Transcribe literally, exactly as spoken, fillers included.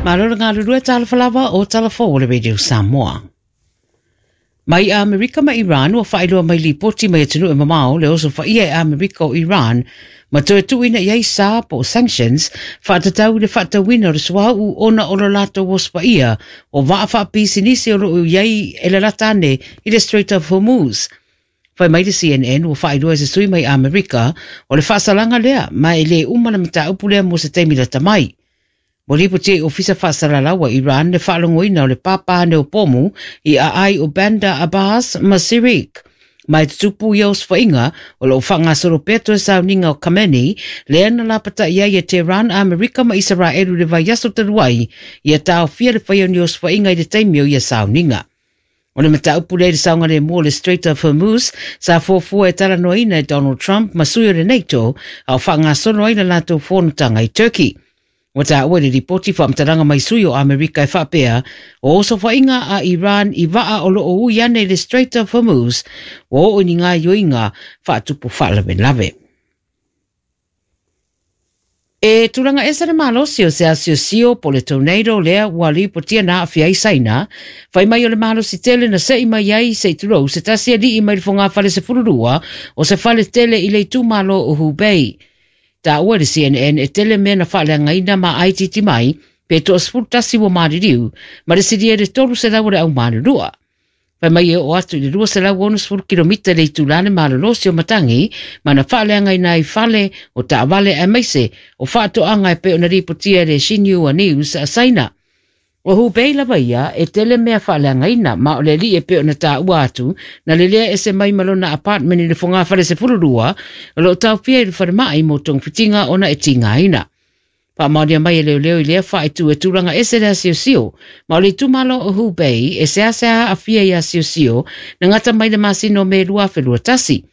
Malo le galulue talofa lava o talafou o le Radio Samoa. Mai Amerika ma Iran ua faailoa mai lipoti mai atunuu e mamao le osofaia e Amerika o Iran ma toe tuuina i ai sa po o sanctions faatatau i le faatauina o le suauu ona o lo latou osofaia o vaa faapisinisi o loo i ai e lalata ane i le Strait of Hormuz. Fai mai le C N N ua faailoa e se sui mai Amerika o le faasalaga lea ma e lē uma le mataupu lea mo se taimi lata mai. Ua lipoti e Ofisa Faasalalau a Iran le faalogoina o le pāpā o pomu i aai o Bandar Abbas ma Sirik. Mai tutupu ia osofaiga o loo faagasolo pea toe sauniga o Khamenei lea na lapata'i ai e Tehran, Amerika ma Isaraelu le vaiaso talu ai ia taofia le faia o ni osofaiga i le taimi o ia sauniga. O le mataupu lea i le saogalemu o le Strait of Hormuz sa fuafua e talanoaina e Donald Trump ma sui o le NATO a o faagasolo ai le latou fonotaga i Turkey. Ua taua i le lipoti faamatalaga mai sui o Amerika e faapea o osofaiga a Iran i vaa o loo ui ane i le Strait of Hormuz ua oo i ni gaoioiga faatupu faalavelave. E tulaga ese le malosi o se asiosio po le tornado lea ua lipotia na aafia ai Saina, fai mai o le malosi tele na se'i mai ai se i tulou se tasi alii mai le fogafale sefululua o se fale tele i le itumalo o Hubei. Taua le C N N e tele mea na faaleagaina ma aititi mai pe toasefulu tasi ua maliliu ma le silia i le tolu selau o le aumalulua. Fai mai e oo atu i le lua selau onosefulu kilomita le itula le malolosi o matagi ma na faaleagaina ai fale o taavale aemaise o faatoaga e pei ona lipotia e le Xinhua News a Saina. O Hubei lava ia e tele mea faaleagaina ma o le alii e pei ona taua atu na lelea ese mai ma lona apartment i le fogafale sefululua o loo taofia i le falemai mo togafitiga ona e tigaina. Faamaonia mai e leoleo i lea faaitu e tulaga ese le asiosio ma o le itumalo o Hubei e seasea aafia i asiosio na gata mai le masina o Me lua afe lua tasi.